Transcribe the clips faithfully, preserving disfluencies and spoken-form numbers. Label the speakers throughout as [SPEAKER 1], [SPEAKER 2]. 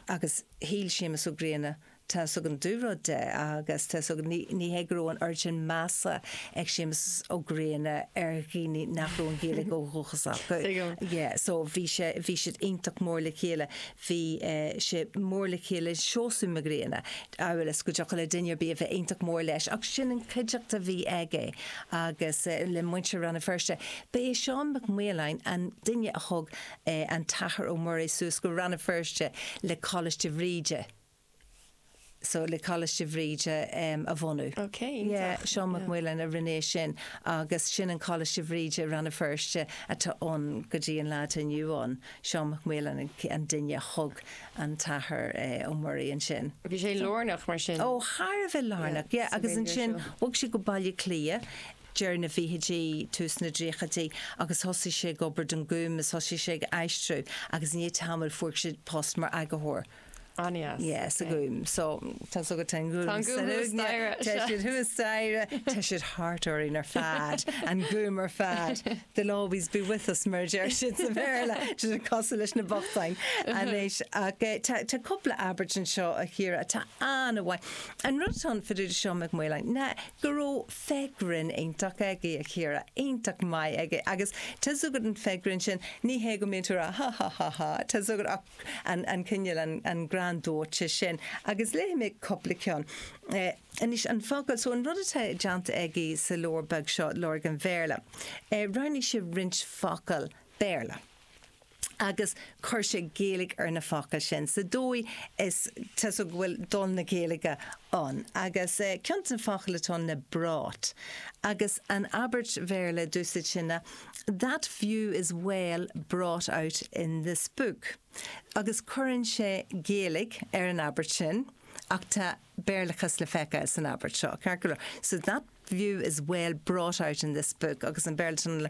[SPEAKER 1] Agus shíl Séamus Ó Grianna tá an dúrud de agus tá ní hé go raibh an oiread sin measa ag Séamus Ó Grianna ar dhaoine nach raibh an Ghaeilge ó dhúchas acu. Yeah, so bhí sé bhí siad iontach mór le chéile bhí uh, sé mór le chéile Seosamh Mac Grianna amhail is go dtiocfadh le duine ar bith a bheith iontach mór leis ach sin an chuideachta a bhí aige agus uh, le muintir Rann na Feirste. Ba é Seán Mac Maoláin an duine a thug uh, an tAthair Ó Muirí suas go Rann na Feirste le Coláiste Bhríde. So le Coláiste Bhríde um, a bhunú.
[SPEAKER 2] Okay,
[SPEAKER 1] Yeah, Seán Mac Maoláin a rinne sin agus sin an Coláiste Bhríde Rann na Feirste atá ann go dtí an lá inniu ann. Seán Mac Maoláin an duine thug an tAthair eh, Ó Muirí ansin.
[SPEAKER 2] Bhí sé lárnach mar sin.
[SPEAKER 1] Ó thar a bheith lárnach, yeah,
[SPEAKER 2] sa
[SPEAKER 1] agus
[SPEAKER 2] Ghaeilge
[SPEAKER 1] ansin
[SPEAKER 2] seo.
[SPEAKER 1] bhog sé go Baile Átha Cliath deireadh na bhfichidí tús na dtríochaidí agus thosaigh sé ag obair don Ghúm is thosaigh sé ag aistriú agus ní tamall fuair sé post mar eagarthóir.
[SPEAKER 2] An-deas.
[SPEAKER 1] Yeah, sa Ghúm. So tá so go ten
[SPEAKER 2] Tá an Gúm thuas staighre.
[SPEAKER 1] Tá siad thuas staighre, tá siad thart orainn ar fad, an Gúm ar fad. They'll always be with us mar deir siad sa Bhéarla, siad cosúil leis na bochtáin. Anois ach eh, tá tá cúpla abairt anseo a Chiara atá an-mhaith. An rud atá fá dtaobh de Seán Mac Maoláin ná go raibh féith grinn iontach aige a Chiara, iontach maith aige agus tá agat an féith grinn sin ní hé go mbíonn tú rá ha ha ha ha tá agat ach an an cineál an an greann dóite sin agus léifidh mé cúpla ceann. Eh, Anois an focal so an rud atá déanta aige sa leabhar beag seo Lorg an Bhéarla. Eh, Roghnaigh sé roinnt focal Béarla. agus chuir sé Gaeilge ar na focail sin. Sa dóigh is tá go bhfuil dul na Gaeilge ann. Agus eh, ceann de na focail atá ná brought. Agus an abairt Bhéarla dúsaid sinna, that view is well brought out in this book. Agus cuireann sé Gaeilge ar an abairt sin, ach tá Béarlachas le feiceáil san abairt seo. Ceart go leor. So that view is well brought out in this book agus an Béarla le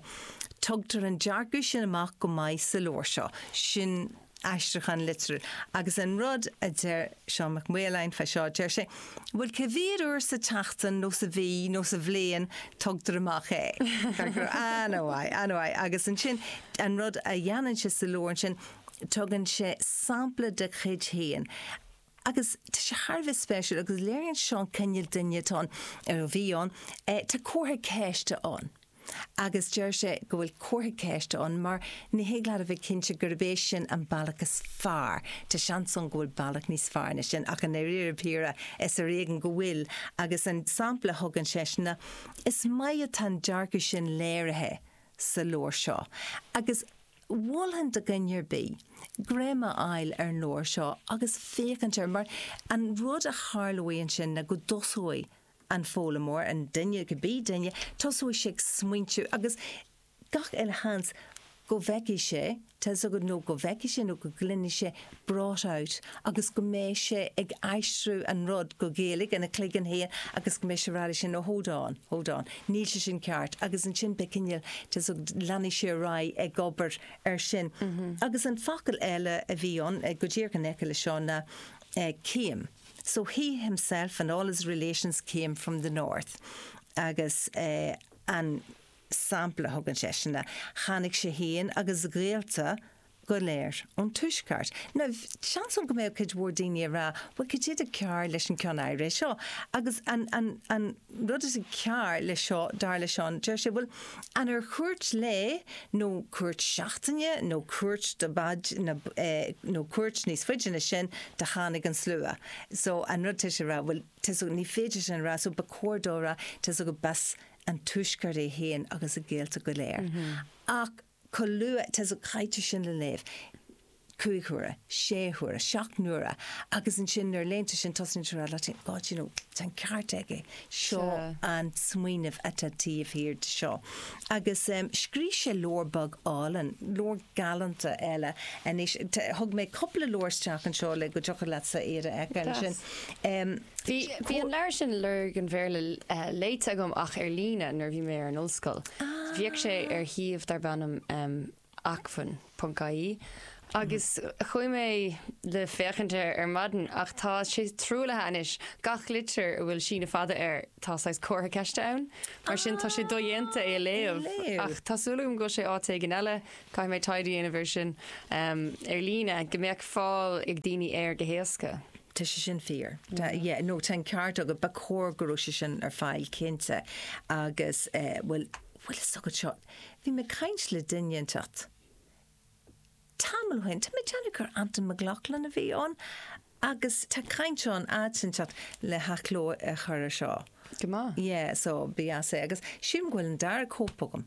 [SPEAKER 1] tugtar an dearcadh sin amach go maith sa leabhar seo sin aistriúchán litriúil. Agus an rud a deir Seán Mac Maoláin fá seo deir sé, Bhuel cé mhéad uair sa tseachtain nó sa mhí nó sa bhliain tugtar amach é. An-mhaith, an-mhaith agus ansin an rud a dhéanann sé sa leabhar sin tugann sé sampla de chuid féin. Agus tá sé thar a bheith spéisiúil agus léiríonn seo an cineál duine atá ann ar a bhí ann, eh, tá comhartha ceiste ann. Agus deir sé go bhfuil comhartha ceiste ann mar ní thig leat a bheith cinnte gurb é sin an bealach is fearr. Tá seans ann go bhfuil bealach níos fearr ná sin ach an réir píre is ar éigean go bhfuil agus an sampla a thugann sé ná is maith atá an dearcadh sin léirithe sa leabhar seo. Agus mholfainn do dhuine ar bith, greim a fháil ar an leabhar seo agus féachaint air mar an rud a tharlóidh ansin ná go dtosóidh an foghlaimeoir an duine go bí duine tosóidh sé ag smaointiú agus gach uile sheans go bhfeicfidh sé tá go nó go bhfeicfidh sé nó go gcluinfidh sé brought out agus go mbeidh sé ag aistriú an rud go Gaeilge ina chloigeann féin agus go mbeidh sé rá sin ó hold on, hold on, níl sé sin ceart agus ansin be cineál tá leanfaidh sé ar aghaidh ag obair ar sin. Agus an focal eile a bhí ann go díreach in aice le seo ná eh, came. So he himself and all his relations came from the north. Agus eh, an sampla thugann sé sinna tháinig sé féin agus a ghaolta go léir ón tuaisceart. Now seans go mbeadh cuid mhór daoine ag rá, well cad é atá cearr leis an ceann áirithe seo. Agus an, an, an rud is cearr le seo dar le Seán, deir sé bhuel an ar chuairt lae nó cuairt seachtaine nó cuairt de bad na, eh, nó cuairt níos faide ná sin do tháinig an slua. So an rud sé rá bhuel ní féidir sin rá so ba chóir dó rá tá go b'as an tuaisceart é féin agus a ghaolta go léir. Mm -hmm. Ach chomh luath tá caithfidh sin le léamh. Cúig huaire, sé huaire, seacht n-uaire, agus ansin nuair a léann tú sin tosaíonn tú rá leat God, you know, tá an ceart aige seo an smaoineamh atá taobh thiar de seo. Agus um, scríobh sé leabhar beag álainn, leabhar galánta eile anois thug mé cúpla leabhar isteach anseo le go dtiocfadh leatsa iad a fheiceáil sin. Um,
[SPEAKER 2] Bhí bhí an leabhar sin Lorg an Bhéarla uh, léite agam ach ar líne nuair bhí mé ar an ollscoil. Ah. Bhíodh sé ar shuíomh darb ainm um, acmhainn.ie Agus chuaigh mé le féachaint air ar maidin ach tá sé truaillithe anois gach litir a bhfuil síneadh fada air tá saghas comhartha ceiste ann, mar sin tá sé dodhéanta é a léamh.
[SPEAKER 1] Léamh.
[SPEAKER 2] Ach tá súil agam go bhfuil sé áit éigin eile, caithfidh mé taighde a dhéanamh air sin um, ar líne go mbeadh fáil ag daoine air go héasca.
[SPEAKER 1] Tá sé sin fíor. Tá- yeah, no tá an ceart agat ba chóir go raibh sé sin ar fáil cinnte agus eh, bhfuil bhfuil fhios agat seo. Bhí mé ag caint le duine inteacht. Tamall ó shin, Tá mé déanamh gur Anton McLaughlin a bhí ann agus tá caint ann áit le hathchló a chur air seo.
[SPEAKER 2] Go maith.
[SPEAKER 1] Yeah, so bí é agus sin bhfuil an dara cóip agam.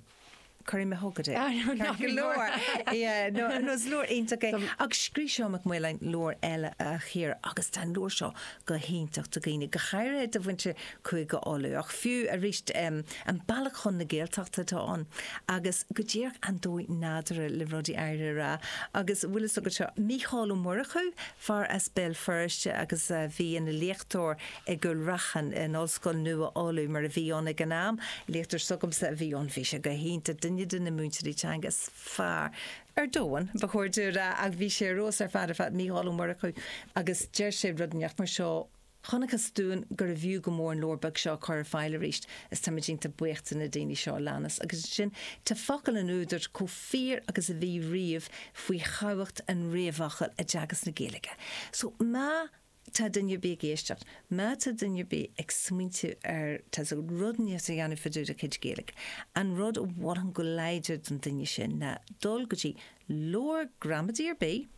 [SPEAKER 1] Chuir mé chugat é.
[SPEAKER 2] Ah, no, ná
[SPEAKER 1] Go leor. Yeah, no, no, is leabhar iontach é. Agus scríobh Seán Mac Maoláin leabhar eile a Chiara agus tá an leabhar seo go hiontach do dhaoine go háirithe do mhuintir Chúige Uladh ach fiú arís um, an bealach chun na Gaeltachta atá ann agus go díreach an dóigh nádúrtha le rudaí áirithe a rá agus bhfuil fhios agat seo Mícheál Ó Murchú fear as Béal Feirste agus uh, bhí ina léachtóir i gCúil Raithin in Ollscoil Nua Uladh mar a bhí ann ag an am léachtóir s'agamsa a bhí ann bhí sé go hiontach duine de na múinteoirí teanga is fearr ar domhan ba chóir dúinn a rá ach bhí sé rós ar fad ar fad Mícheál Ó Murchú agus deir sé rud inteacht mar seo Chonacthas dúinn gurbh fhiú go mór an leabhar beag seo chur ar fáil arís is tá iontach buíoch de na daoine seo a leanas agus sin tá focail an údair chomh fíor agus a bhí riamh faoi thábhacht an réamhfhocail i dteagasc na Gaeilge. So má tá duine ar bith ag éisteacht, má tá duine ar bith ag smaointiú ar tá rud níos a dhéanamh fá dtaobh de chuid Gaeilge. An rud a mholfainn go láidir don duine sin ná dul go dtí leabhar gramadaí ar bith,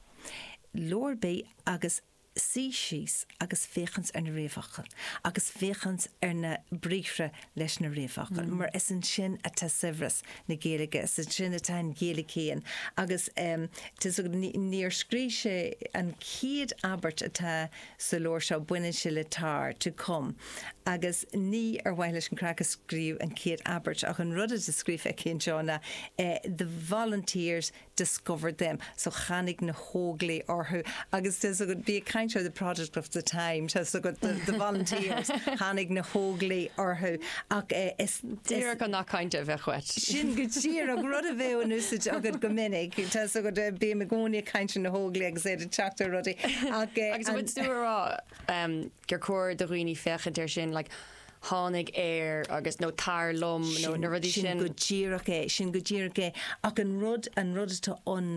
[SPEAKER 1] leabhar ar bith agus suí síos agus féachaint ar na réamhfhocail, agus féachaint ar na briathra leis na réamhfhocail, mm. mar is ansin atá saibhreas na Gaeilge, is ansin atá an Ghaeilge féin agus um, níor scríobh sé an chéad abairt atá sa leabhar seo baineann sé le tar to come. Agus ní ar mhaithe leis an craic a scríobh an chéad abairt ach an rud a scríofa aici anseo ná eh, the volunteers discovered them so tháinig na hóglaigh orthu agus bí caint the product of the time so the, the volunteers tháinig na hóglaigh orthu ach eh, is
[SPEAKER 2] Díreach an nath cainte a bheadh uait.
[SPEAKER 1] Sin go díreach rud a bheith in úsáid agat go minic Tá go bí a gcóí caint na hóglaigh agus é teachta rudaí ach eh,
[SPEAKER 2] Agus bhfuil tú ag rá um, gur chóir do dhaoine féachaint air sin like, tháinig air agus nó tar liom nó na rudaí
[SPEAKER 1] sin
[SPEAKER 2] sin.
[SPEAKER 1] go díreach é sin go díreach é ach an rud an rud atá an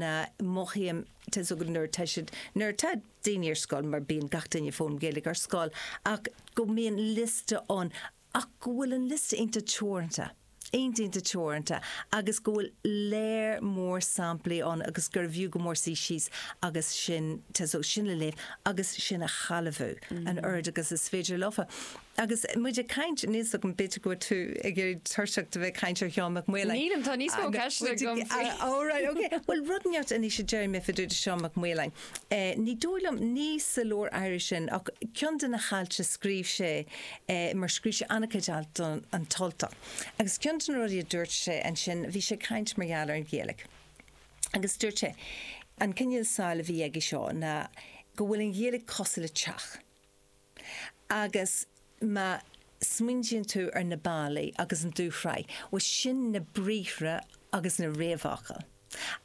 [SPEAKER 1] mothaím tá go nuair tá siad nuair tá daoine ar scoil mar bíonn gach duine ag foghlaim Gaeilge ar scoil ach go mbíonn liosta ann ach go bhfuil an liosta iontach teoranta. Iontach teoranta agus go bhfuil léir mór samplaí ann agus gur bhfiú go mór suí síos agus sin tá so sin le léamh agus sin a shealbhú an oiread agus is féidir leofa. Agus muid ag caint níos go b'fhéidir go tú ag iarraidh tuirseach de bheith caint ar Sheán Mac Maoláin.
[SPEAKER 2] Nílim tá níos mó ceiste agam faoi.
[SPEAKER 1] Ó right, okay. Well rud neart anois a deir mé fá dtaobh de Seán Mac Maoláin. Eh, ní dóigh liom ní sa leabhar áirithe sin ach ceann de na hailt a scríobh sé eh, mar scríobh sé an-chuid alt don an tUltach. Agus ceann de na rudaí a dúirt sé ansin bhí sé caint mar gheall ar an Ghaeilge. Agus dúirt sé an cineál samhail a bhí aige seo ná go bhfuil an Ghaeilge cosúil le teach. Agus má smaointíonn tú ar na ballaí agus an dúshraith, well sin na briathra agus na réamhfhocail.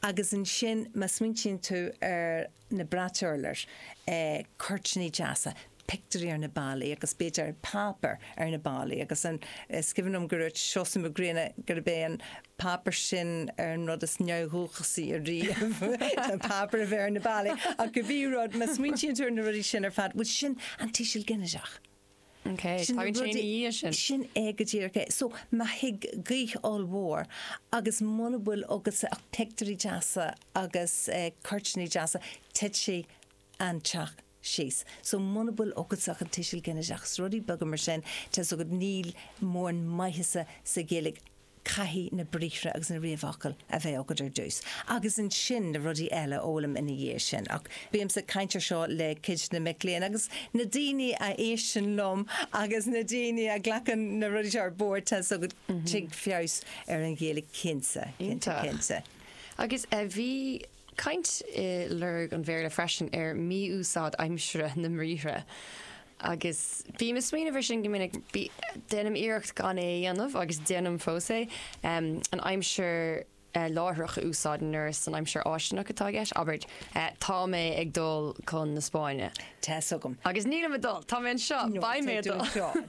[SPEAKER 1] Agus ansin má smaointíonn tú ar na brait urláir, eh, cuirtíní deasa, pictiúirí ar na ballaí agus b'fhéidir páipéar ar na ballaí agus an is cuimhin liom go raibh Seosamh Mac Grianna gurb é an páipéar sin ar an rud is neamhdhúchasaí ariamh an páipéar a bheith ar na ballaí ach go bhí rud má smaointíonn tú ar na rudaí sin ar fad, well sin an tuiseal ginideach.
[SPEAKER 2] Okay,
[SPEAKER 1] Sin na
[SPEAKER 2] tagann sé
[SPEAKER 1] rudaí-
[SPEAKER 2] ina dhiaidh sin.
[SPEAKER 1] Sin é go díreach é. So má thig gaoth ollmhór agus muna bhfuil agus ach pictiúirí deasa agus eh, cuirtíní deasa titfidh an teach síos. So muna bhfuil agat ach an tuiseal ginideach rudaí beaga mar sin tá so go níl mórán maitheasa sa Ghaeilge caithfidh na briathra agus na réamhfhocail a bheith agat ar dtús. Agus ansin na rudaí eile a fhoghlaim ina dhiaidh sin. Ach bím ag caint air seo le cuid na mic léinn agus na daoine a éisteann liom agus na daoine a ghlacann na rudaí seo ar bord tá so go dtig feabhas ar an Ghaeilge cinnte, cinnte,
[SPEAKER 2] Iontach.
[SPEAKER 1] cinnte.
[SPEAKER 2] Agus eh, bhí caint i Lorg an Bhéarla freisin ar mí-úsáid aimsire na mbriathra. Agus bím ag smaoineamh air sin go minic déanaim iarracht gan é a dhéanamh agus déanaim fós é um, an aimsir láithreach a úsáid nuair san aimsir fháistineach atá i gceist, abair tá mé ag dul chun na Spáinne.
[SPEAKER 1] Tá 's agam.
[SPEAKER 2] Agus nílim ag dul, tá mé anseo, beidh mé ag dul.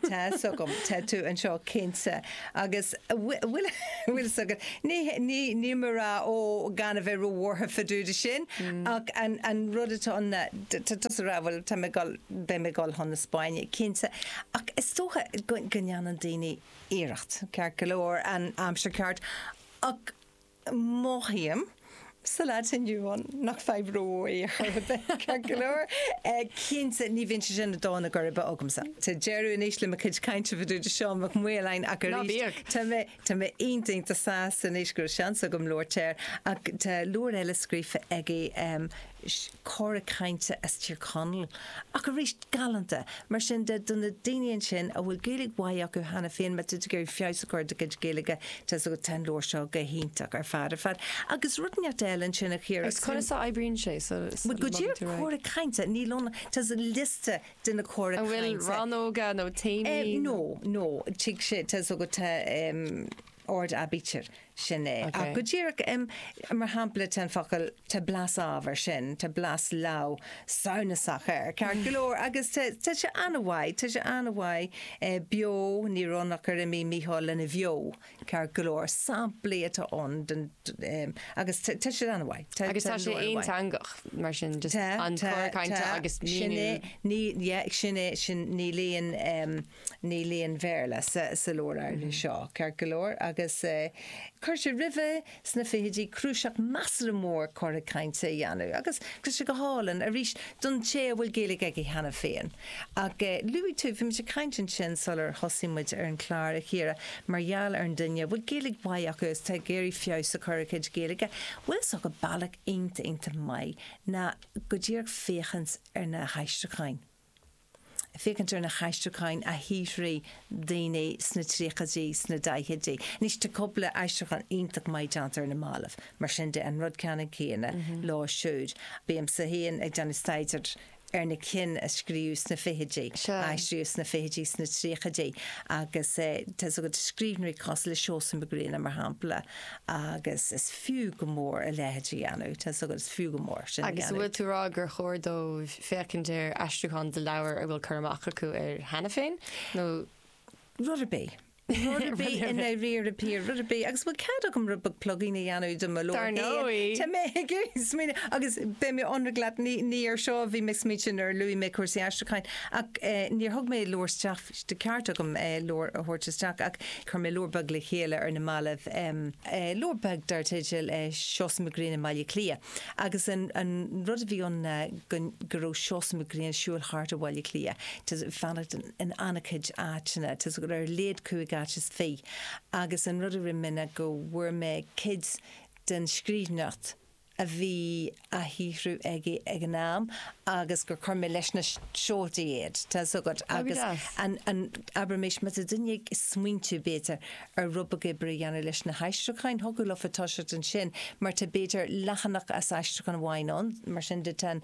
[SPEAKER 1] Tá 's agam, tá tú anseo cinnte agus bhfuil 's agat ní ní mar ó gan a bheith róbhuartha fá dtaobh de sin ach an an rud atá an tusa rá bhfuil tá mé gul beidh mé gul chun na Spáinne cinnte ach is dócha go go ndéanann daoine iarracht ceart go leor an aimsir ceart ach mothaím sa lá inniu ann nach fadhb é ceart go leor cinnte ní bhíonn sé sin dána gur be agamsa. Tá deireadh anois le mo chuid cainte fá dtaobh de Seán Mac Maoláin ach
[SPEAKER 2] Ná bíodh.
[SPEAKER 1] Tá mé tá mé iontach sásta anois go raibh seans agam labhairt air ach tá leabhar eile scríofa aige um, cora cainte as Tír Chonaill ach arís galánta mar sin de do na daoine ansin a bhfuil Gaeilge mhaith acu cheana féin má tá tú ag feabhas a chur do chuid Gaeilge tá go tá an leabhar seo go hiontach ar fad ar fad agus rud inteacht eile ansin a Chiara
[SPEAKER 2] Agus conas a oibríonn sé so
[SPEAKER 1] Well, go dtí cora cainte ní lon tá liosta de na cora
[SPEAKER 2] An bhfuil
[SPEAKER 1] cainte.
[SPEAKER 2] rannóga nó téamaí?
[SPEAKER 1] Eh, no, no, tig sé tá go tá um, ord aibítir sin é.
[SPEAKER 2] Okay.
[SPEAKER 1] Ach go díreach um, mar shampla tá an focal tá blas ábhar sin, tá blas lá samhnasach air. Ceart go leor agus tá tá sé an-mhaith, tá sé an-mhaith eh, beo ní ronnach ar imí Mícheál lena bheo ceart go leor samplaí atá ann den um, agus tá tá sé an-mhaith.
[SPEAKER 2] Agus tá sé aonteangach mar sin just an cora cainte agus
[SPEAKER 1] sin é
[SPEAKER 2] míniú.
[SPEAKER 1] ní yeah, sin é sin ní líon um, ní líon Bhéarla sa, sa leabhar mm -hmm. seo ceart go leor agus uh, chuir sé roimhe sna fichidí cnuasach measartha mór cora cainte a dhéanamh agus agus sé go hálainn arís don té a bhfuil Gaeilge aige cheana féin. Ach uh, luaigh tú bhí muid ag caint ansin sular thosaigh muid ar an chlár a Chiara mar gheall ar an duine bhfuil Gaeilge mhaith acu is tá ag iarraidh feabhas a chur ar a chuid Gaeilge, bhfuil so go bealach iontach iontach maith ná go díreach féachaint ar na haistriúcháin. Féachaint ar na haistriúcháin a shaothraigh daoine sna tríochaidí sna daichidí. Anois tá cúpla aistriúchán iontach maith déanta ar na mallaibh, mar sin de an rud ceannann céanna lá siúd. Bímse féin ag déanamh staidéir ar na cinn a scríobhadh sna fichidí,
[SPEAKER 2] Sea.
[SPEAKER 1] aistríodh sna fichidí sna tríochaidí agus eh, tá go scríbhneoirí cosúil le Seosamh Mac Grianna mar shampla agus is fiú go mór a leithéid a dhéanamh, tá go is fiú go mór sin a
[SPEAKER 2] Agus
[SPEAKER 1] dhéanamh.
[SPEAKER 2] bhfuil tú rá gur chóir dóibh féachaint ar aistriúchán de leabhar a bhfuil cur amach acu air cheana féin nó
[SPEAKER 1] Rud ar bith. Rud ar bith i ndáiríre píre, rud ar bith agus bhfuil cead agam rud beag plugging a dhéanamh do mo
[SPEAKER 2] Dar ndóigh.
[SPEAKER 1] Tá mé ag smaoineamh agus beidh mé ionraic leat ní ní ar seo bhí mé smaointe ar luaigh mé cúrsaí aistriúcháin ach eh, níor thug mé leabhar isteach de ceart agam eh, leabhar a thabhairt isteach ach chuir mé leabhar beag le chéile ar na mallaibh um, eh, leabhar beag dar teideal eh, Seosamh Mac Grianna i mBaile Átha Cliath agus an, an rud a bhí ann eh, go, go raibh Seosamh Mac Grianna ag siúl thart i Bhaile Átha Cliath Tá fanacht in, in an-chuid áiteanna tá go ar léad cúig áit is fiche agus an rud a rinne mé ná go bhfuair mé cuid den scríbhneoireacht a bhí á shaothrú aige ag an am agus gur chuir mé leis na seoltaí iad Tá agat agus
[SPEAKER 2] deas.
[SPEAKER 1] an an abraimis má tá duine ag smaointiú b'fhéidir ar rud beag oibre a dhéanamh leis na haistriúcháin thiocfadh leofa toiseacht ansin mar tá b'fhéidir leathanach as aistriúchán amháin ann mar sin de tá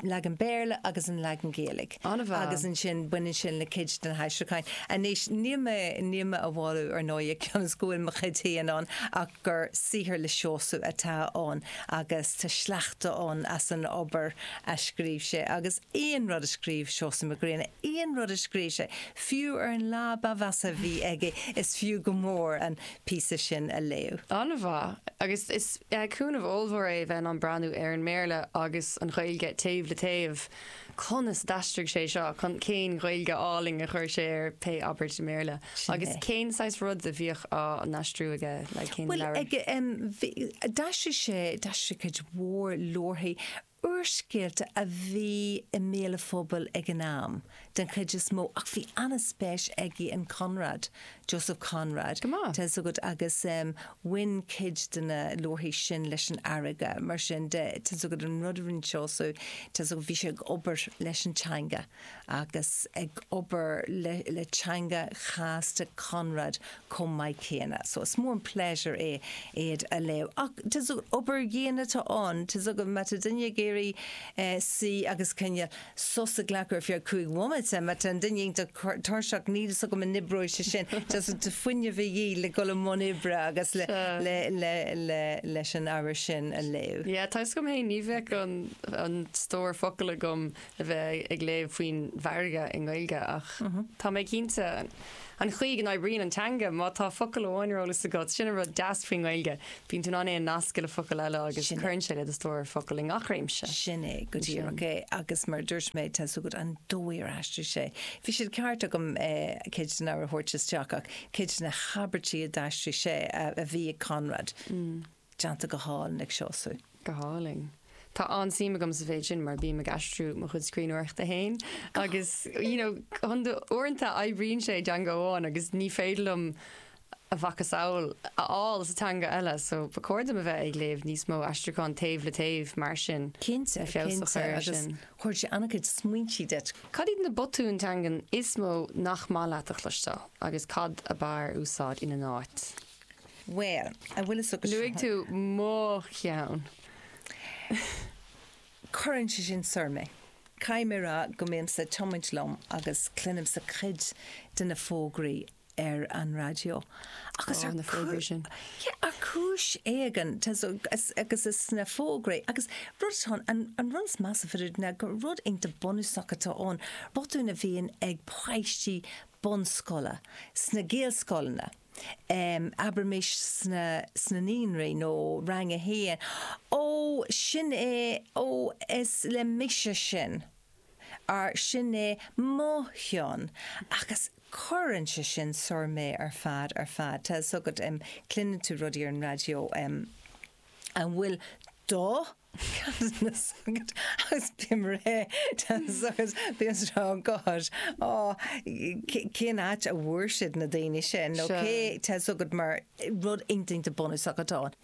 [SPEAKER 1] leagan Béarla agus an leagan Gaeilge.
[SPEAKER 2] An-mhaith.
[SPEAKER 1] Agus ansin baineann sin le cuid den haistriúcháin. Anois níl mé níl mé á mholadh ar ndóigh cionn is go bhfuil mo chuid féin ann ach gur saothar le Seosamh atá ann agus tá sleachta ann as an obair a scríobh sé agus aon rud a scríobh Seosamh Mac Grianna, aon rud a scríobh sé, fiú ar an lá ba mheasa a bhí aige is fiú go mór an píosa sin a léamh.
[SPEAKER 2] An-mhaith agus is eh, cúnamh ollmhór é bheith an breathnú ar an mBéarla agus an Ghaeilge taobh le taobh. Conas d'aistrigh sé seo chun cén Ghaeilge álainn a chuir sé ar pé abairt i mBéarla.
[SPEAKER 1] Sin
[SPEAKER 2] Agus
[SPEAKER 1] é.
[SPEAKER 2] cén saghas rud a bhíodh á n-aistriú aige le cén
[SPEAKER 1] Well
[SPEAKER 2] leabhar.
[SPEAKER 1] ag um, d'aistrigh sé d'aistrigh cuid mhór leabharthaí úrscéalta a bhí i mbéal an phobail ag an am den chuid is mó ach bhí an-spéis aige in Conrad, Joseph Conrad.
[SPEAKER 2] Go maith.
[SPEAKER 1] Tá agat agus um, bhain cuid de na leabharthaí sin leis an fharraige mar sin de tá agat an rud a rinne Seosamh tá agat bhí sé ag obair leis an teanga agus ag obair le, le teanga chasta Conrad chomh maith céanna. So is mór an pléisiúr é iad a léamh. Ach tá obair dhian atá ann tá agat má tá duine ag iarraidh iarraidh suí agus cineál sos a ghlacadh ar feadh cúig bhomaite, má tá an duine iontach tuirseach níl fhios agam an n-oibreoidh sé sin, tá fuinneamh a dhíth le dul i mbun oibre agus le le le le leis an ábhar sin a léamh.
[SPEAKER 2] Yeah, tá fhios agam féin ní bheadh an an stór focal agam le bheith ag léamh faoin bhfarraige i nGaeilge ach tá mé cinnte an chaoi go n-oibríonn an teanga má tá focal amháin ar eolas agat, sin an rud deas faoin nGaeilge, bíonn tú in ann é a nascadh le focal eile agus cuireann sé le do stór focal i ngach réimse.
[SPEAKER 1] Sin é go díreach é agus mar dúirt mé tá fhios agat an dóigh ar aistrigh sé. Bhí sé ceart agam cuid den ábhar a thabhairt isteach ach cuid de na habairtí a d'aistrigh sé a bhí ag Conrad déanta go hálainn ag Seosamh.
[SPEAKER 2] Go hálainn. Tá an-suim agam sa mhéid sin mar bím ag aistriú mo chuid scríbhneoireachta féin agus you know, uaireanta oibríonn sé i dteanga amháin agus ní féidir liom a mhacasamhail a fháil sa teanga eile, so ba chóir dom a bheith ag léamh níos mó aistriúchán taobh le taobh mar sin.
[SPEAKER 1] Cinnte,
[SPEAKER 2] feabhas a chur air
[SPEAKER 1] agus
[SPEAKER 2] sin.
[SPEAKER 1] chuir sé an-chuid smaointe duit.
[SPEAKER 2] Cad iad na botúin teangan is mó nach maith leat a chloisteáil agus cad ab fhearr úsáid ina n-áit?
[SPEAKER 1] Well, a bhfuil fhios agat
[SPEAKER 2] Luaigh tú mo cheann.
[SPEAKER 1] Cuireann sé sin soir mé. Caithfidh mé rá go mbímse ag tiomáint liom agus cluinimse cuid de na fógraí ar an raidió. Agus
[SPEAKER 2] Ó,
[SPEAKER 1] ar
[SPEAKER 2] na fógraí sin.
[SPEAKER 1] Yeah, ar chúis éigin agus is sna fógraí agus rud atá an, an rud is measa fá ná gur rud iontach bunúsach atá ann, botún a bhíonn ag páistí bunscoile sna Gaelscoileanna. Um, abraimis sna, sna naíonraí nó rang a haon. Ó sin é ó is le mise sin. Ar sin é mo cheann agus cuireann sé sin soir mé ar fad ar fad. Tá fhios agat um, cluineann tú rudaí ar an raidió um, an bhfuil do agus bím ré agus bím oh God ó cén áit a bhfuair siad na daoine sin nó
[SPEAKER 2] Sure.
[SPEAKER 1] cé tá fhios agat mar rud iontach bunúsach atá ann.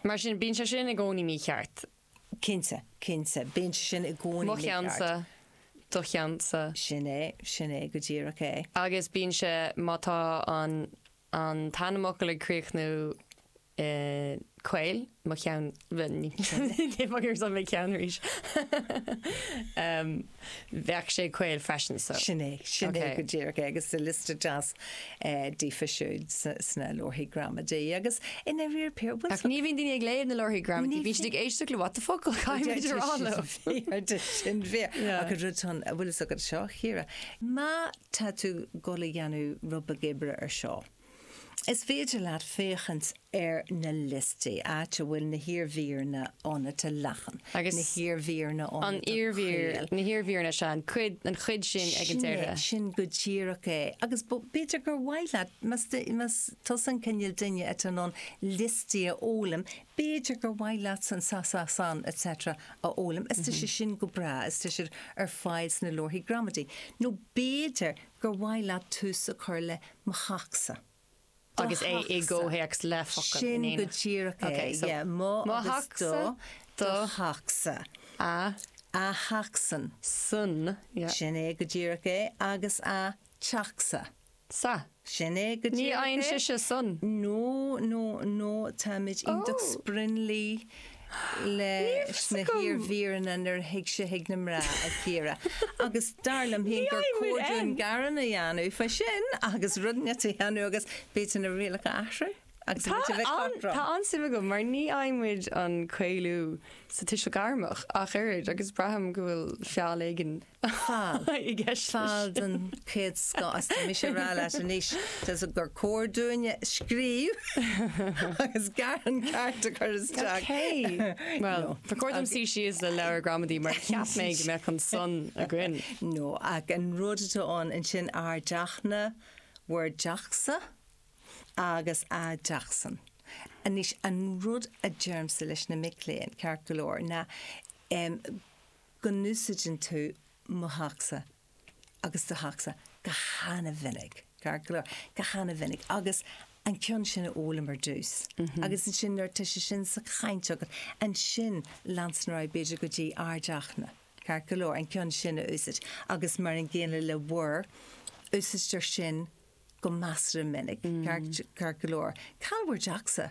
[SPEAKER 2] Mar sin bíonn sé sin i gcónaí mícheart.
[SPEAKER 1] Cinnte, cinnte, bíonn sé sin i gcónaí
[SPEAKER 2] Mo
[SPEAKER 1] mícheart.
[SPEAKER 2] cheannsa, do cheannsa.
[SPEAKER 1] Sin é, sin é go díreach é.
[SPEAKER 2] Agus bíonn sé má tá an an t-ainmfhocal ag críochnú eh, caol mo cheann ní mé ceann arís. um, Bheadh sé caol freisin so.
[SPEAKER 1] Sin é, sin é
[SPEAKER 2] Okay.
[SPEAKER 1] go díreach é agus sa liosta deas eh, daofa siúd sna leabharthaí gramadaí agus ina rir pé
[SPEAKER 2] Ach ní bhíonn daoine ag léamh na leabharthaí gramadaí, bíonn siad ag éisteacht le what the fuck caithfimid a rá leo.
[SPEAKER 1] sin bhí
[SPEAKER 2] Yeah.
[SPEAKER 1] agus rud an a bhfuil agat seo Chiara. Má tá tú ag dul a dhéanamh rud beag oibre ar seo. Is féidir leat féachaint ar na liostaí áit a bhfuil na hiarmhíreanna ann atá leathan.
[SPEAKER 2] Agus
[SPEAKER 1] na hiarmhíreanna
[SPEAKER 2] An
[SPEAKER 1] ann atá
[SPEAKER 2] iarmhír
[SPEAKER 1] caol.
[SPEAKER 2] na hiarmhíreanna se an cuid an chuid sin ag an
[SPEAKER 1] Sin é,
[SPEAKER 2] deireadh.
[SPEAKER 1] sin go díreach é. Agus b'fhéidir gur mhaith leat más tusa an cineál duine atá in ann liostaí a fhoghlaim, b'fhéidir gur mhaith leat san sa sa san etc. a fhoghlaim. Is tá sé sin go breá, is tá siad ar fáil sna leabharthaí gramadaí. Nó b'fhéidir gur mhaith leat tús a chur le mo theachsa.
[SPEAKER 2] Agus é i gcomhthéacs le focal
[SPEAKER 1] Sin
[SPEAKER 2] in
[SPEAKER 1] go
[SPEAKER 2] éineacht.
[SPEAKER 1] díreach é,
[SPEAKER 2] Okay, so
[SPEAKER 1] yeah, mo
[SPEAKER 2] mo
[SPEAKER 1] agus
[SPEAKER 2] theachsa,
[SPEAKER 1] do
[SPEAKER 2] do
[SPEAKER 1] do theachsa.
[SPEAKER 2] A
[SPEAKER 1] A theachsan.
[SPEAKER 2] san yeah.
[SPEAKER 1] Sin é go díreach é agus a teachsa.
[SPEAKER 2] Sa.
[SPEAKER 1] Sin é go
[SPEAKER 2] Ní
[SPEAKER 1] díreach
[SPEAKER 2] fhaigheann
[SPEAKER 1] é.
[SPEAKER 2] sise san.
[SPEAKER 1] No, no, no, táimid iontach
[SPEAKER 2] Oh.
[SPEAKER 1] sprionlaí le
[SPEAKER 2] fhios
[SPEAKER 1] na
[SPEAKER 2] agam.
[SPEAKER 1] hiarmhíreanna nuair a thig sé chuig na mná a Chiara. Agus dar liom féin gur
[SPEAKER 2] Ní fhaighimid
[SPEAKER 1] cóir dúinn
[SPEAKER 2] en.
[SPEAKER 1] gearán a dhéanamh fá sin agus rudaí a dhéanamh agus b'fhéidir na rialacha a athrú. Agus
[SPEAKER 2] Tá
[SPEAKER 1] b'fhéidir bheith
[SPEAKER 2] an-
[SPEAKER 1] cothrom.
[SPEAKER 2] Tá an-suim agam mar ní fhaighimid an caolú sa tuiseal gairmeach ach oiread agus braithim go bhfuil feall éigin
[SPEAKER 1] Feall.
[SPEAKER 2] i gceist leis.
[SPEAKER 1] Feall den chéad scoth as mise rá leat anois Tá gur cóir dúinne scríobh agus gearán ceart a chur isteach.
[SPEAKER 2] Okay. Well,
[SPEAKER 1] No.
[SPEAKER 2] Ba chóir dom suí síos le leabhar gramadaí mar cheap mé go mbeadh an san againn.
[SPEAKER 1] No, ach an rud atá ann ansin ár dteachna bhur dteachsa agus a dteachsan. Anois an rud a deirimse leis na mic léinn ceart go leor ná um, go n-úsáideann tú mo theachsa agus do theachsa go han-mhinic, ceart go leor, go han-mhinic agus an ceann sin a fhoghlaim ar dtús. Agus ansin nuair tá sé sin sa chaint agat ansin leanstan ar aghaidh b'fhéidir go dtí ár dteachna. Ceart go leor an ceann sin a úsáid agus mar an gcéanna le bhur úsáidtear sin go measartha minic ceart ceart go leor. Cá bhfuil bhur dteachsa?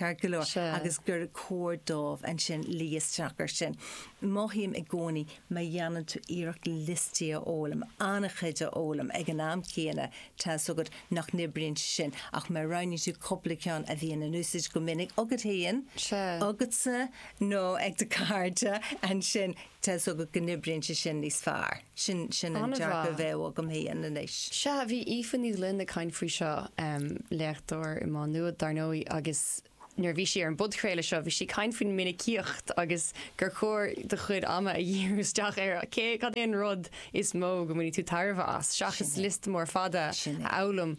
[SPEAKER 1] Ceart go leor
[SPEAKER 2] Sea.
[SPEAKER 1] agus gur cóir dóibh ansin luí isteach air sin. Mothaím i gcónaí má dhéanann tú iarracht liostaí a fhoghlaim, an-chuid a fhoghlaim ag an am céanna tá a fhios agat nach n-oibríonn sin ach má roghnaíonn tú cúpla ceann a bhíonn in úsáid go minic agat féin,
[SPEAKER 2] Sea.
[SPEAKER 1] agatsa nó ag do chairde ansin tá a fhios agat go n-oibríonn sé sin níos fearr. Sin sin an
[SPEAKER 2] An-mhaith.
[SPEAKER 1] dearcadh a bheadh agam féin anois.
[SPEAKER 2] Sea bhí Aoife Ní Ghlinn ag caint faoi seo um, léachtóir i Má Nuad dar ndóigh agus nuair bhí sí ar an bpodchraoladh seo bhí sí ag caint faoin minicíocht agus gur chóir do chuid ama a dhíriú isteach ar cé cad é an rud is mó go mbainfidh tú tairbhe as seachas
[SPEAKER 1] Sin é.
[SPEAKER 2] liosta mór fada
[SPEAKER 1] Sin é.
[SPEAKER 2] a fhoghlaim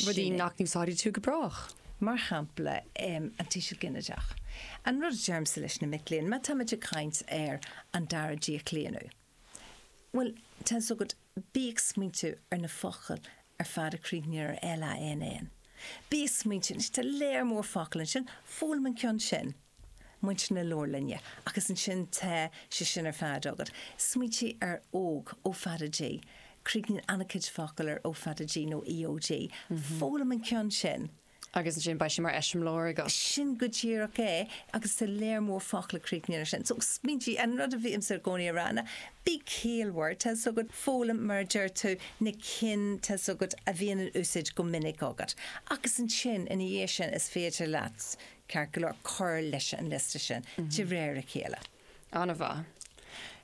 [SPEAKER 2] rudaí
[SPEAKER 1] Sin é.
[SPEAKER 2] nach n-úsáidfidh tú go brách.
[SPEAKER 1] Mar shampla um, an tuiseal ginideach. An rud a deirimse leis na mic léinn, má táimid ag caint ar an dara díochlaonadh. Well, tá a fhios agat bí ag smaointiú ar na focail ar fad a chríochnaíonn ar L A N N. Bí ag smaointiú tá léar mór focal ansin foghlaim an ceann sin. Muintir na leabharlainne, agus ansin tá sé sin ar fad agat. Smaointigh ar óg O fada G. Críochnaíonn an-chuid focal ar O fada G nó E O G. Foghlaim an ceann sin.
[SPEAKER 2] Agus ansin beidh sé mar eiseamláir agat.
[SPEAKER 1] Sin go díreach é agus tá léar mór focal a chríochnaíonn sin. So smaointigh an rud a bhímse i gcónaí ag rá ná bí ciallmhar tá a fhios agat foghlaim mar deir tú na cinn tá a fhios agat a bhíonn in úsáid go minic agat. Agus ansin ina dhiaidh sin is féidir leat ceart go leor cur leis an liosta sin de réir a chéile.
[SPEAKER 2] An-mhaith.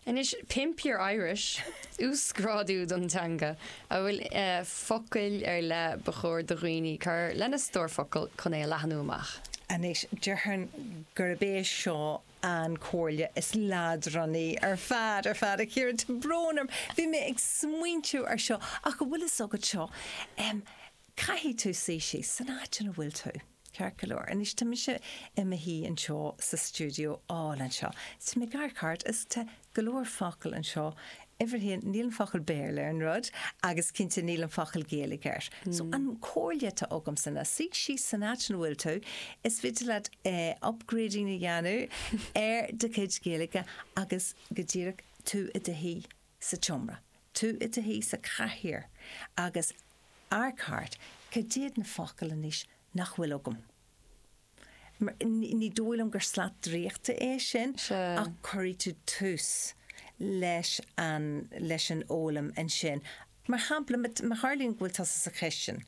[SPEAKER 2] Anois Pimp Your Irish uasghrádú don teanga a bhfuil uh, focail ar leith ba chóir do dhaoine cur lena stór focal chun é a leathnú amach.
[SPEAKER 1] Anois déarfainn gurb é seo an chomhairle is leadránaí ar fad ar fad a Chiara tá brón orm. Bhí mé ag smaointiú ar seo ach go bhfuil a fhios agat seo. Um, Caithfidh tú suí síos san áit ina bhfuil tú. Ceart go leor. Anois tá mise i mo shuí anseo sa stiúideo álainn anseo. Tá mé gar cart is tá go leor focal anseo. Uimhir a haon níl an focal Béarla ar an rud agus cinnte níl an focal Gaeilge air. Mm. So an chomhairle atá agamsa ná suigh síos san áit ina bhfuil tú, is féidir leat eh, upgrading a dhéanamh ar do chuid Gaeilge agus go díreach tú i do shuí sa tseomra. Tú i do shuí sa chathaoir agus amharc thart cad iad na focail anois nach bhfuil agam. Mar- Ní ní dóigh liom gur slat draíochta é sin
[SPEAKER 2] Sea.
[SPEAKER 1] ach cuirfidh tú tús leis an leis an fhoghlaim ansin. Mar shampla má tharlaíonn go bhfuil tusa sa chistin.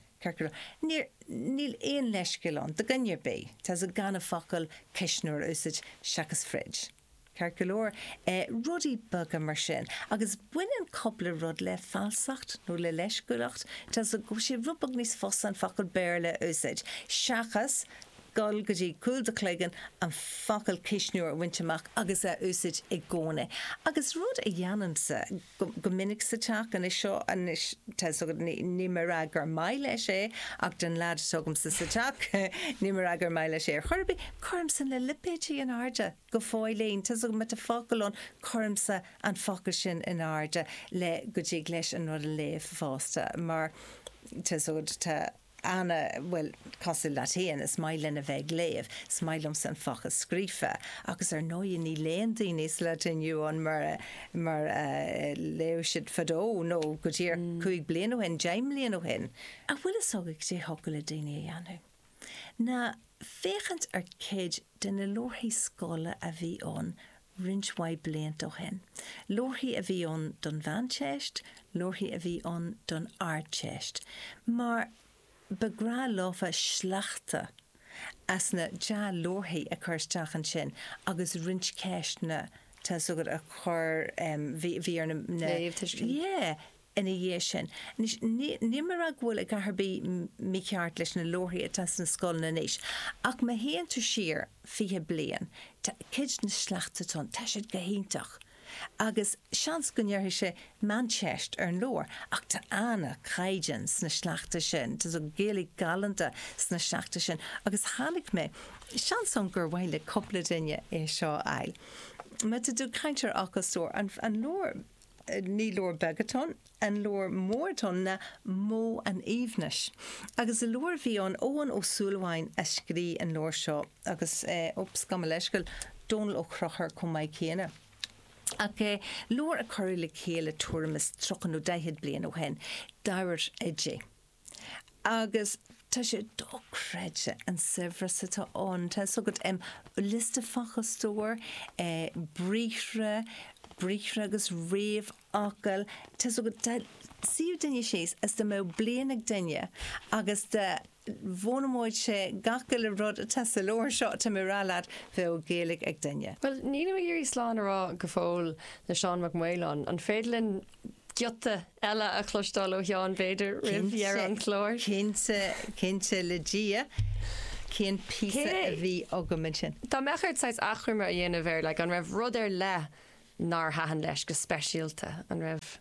[SPEAKER 1] Níl níl aon leithscéal ann, do dhuine ar bith, tá sa gan an focal cuisneoir a úsáid seachas fridge. Ceart go leor eh, rudaí beaga mar sin, agus baineann cúpla rud le falsacht nó le leisciúlacht, Tá sa go sé rud beag níos fusa an focal Béarla a úsáid. Seachas gul go dtí cúl do chloigeann an focal cuisneoir a bhaint amach agus a úsáid i gcónaí. Agus rud a dhéanaimse go, go minic sa teach anois seo anois tá ní mar gur maith leis é ach den leaid agamsa sa teach ní mar gur maith leis é ar chor ar bith cuirimse na lipéidí in airde go fóillín Tá me a focal an cuirimse an focal sin in airde le go dtig leis an rud a léamh fosta mar tá tá Anna well cosúil leat féin is maith linn a bheith ag léamh, is maith liomsa an focal scríofa, agus ar ndóigh ní léann daoine le inniu an mar mar uh, léadh siad fadó nó go dtí mm. cúig bliana ó shin, deich mbliana ó shin. A bhfuil a fhios agat cad é thiocfadh le daoine a dhéanamh. Ná féachaint ar cuid de na leabharthaí scoile a bhí ann roinnt mhaith blianta ó shin. Leabharthaí a bhí ann don Mheánteist, leabharthaí a bhí ann don Ardteist. Mar ba ghnách leofa sleachta as na dea-leabharthaí a chur isteach ansin agus roinnt ceisteanna tá agat a chur bhí ar na
[SPEAKER 2] Léamh
[SPEAKER 1] Yeah, ina dhiaidh sin. Ní mar go bhfuil a dhath ar bith mícheart leis na leabharthaí atá sna scoileanna anois. Ach má théann tú siar fiche bliain, cuid na sleachta ann, tá siad go hiontach. Agus seans go ndéarfaidh sé Meánteist ar an leabhar ach tá an-chaighdeán sna sleachta sin, Tá Gaeilge galánta sna sleachta sin, agus tháinig mé seans ann gur mhaith le cúpla duine é seo a fháil. Má tá tú ag caint ar fhocal stór an, an leabhar ní leabhar beag atá ann, an leabhar mór atá ann ná Modh an Aoibhnis. Agus an leabhar bhí an Eoghan Ó Súilleabháin a scríobh an leabhar seo agus eh, oops gabh mo leithscéal Dónal Ó Conchúir chomh maith céanna. Ach eh, leabhar a cuireadh le chéile tuairim is tríocha nó daichead bliain ó shin, d'ábhair oidí. Agus Tá sé dochreidte an saibhreas atá ann. Tá so agat um, liosta focalstór, eh, briathra, briathra agus réamhfhocail. Tá so agat dá suíodh duine síos is dá mbeadh bliain ag duine agus dá bhfoghlaimeodh sé gach uile rud atá sa leabhar seo tá mé ag rá leat bheadh Gaeilge ag duine.
[SPEAKER 2] Well, nílim ag iarraidh slán a rá go fóill le Seán Mac Maoláin. An féidir linn giota eile a chloisteáil ó Sheán b'fhéidir roimh dheireadh an chláir?
[SPEAKER 1] Cinnte cinnte le Dia cén píosa
[SPEAKER 2] Cé-
[SPEAKER 1] a bhí agam ansin.
[SPEAKER 2] Dá mbeadh ort saghas achoimre a dhéanamh air, like, an raibh rud ar leith nár thaitin leis go speisialta, an raibh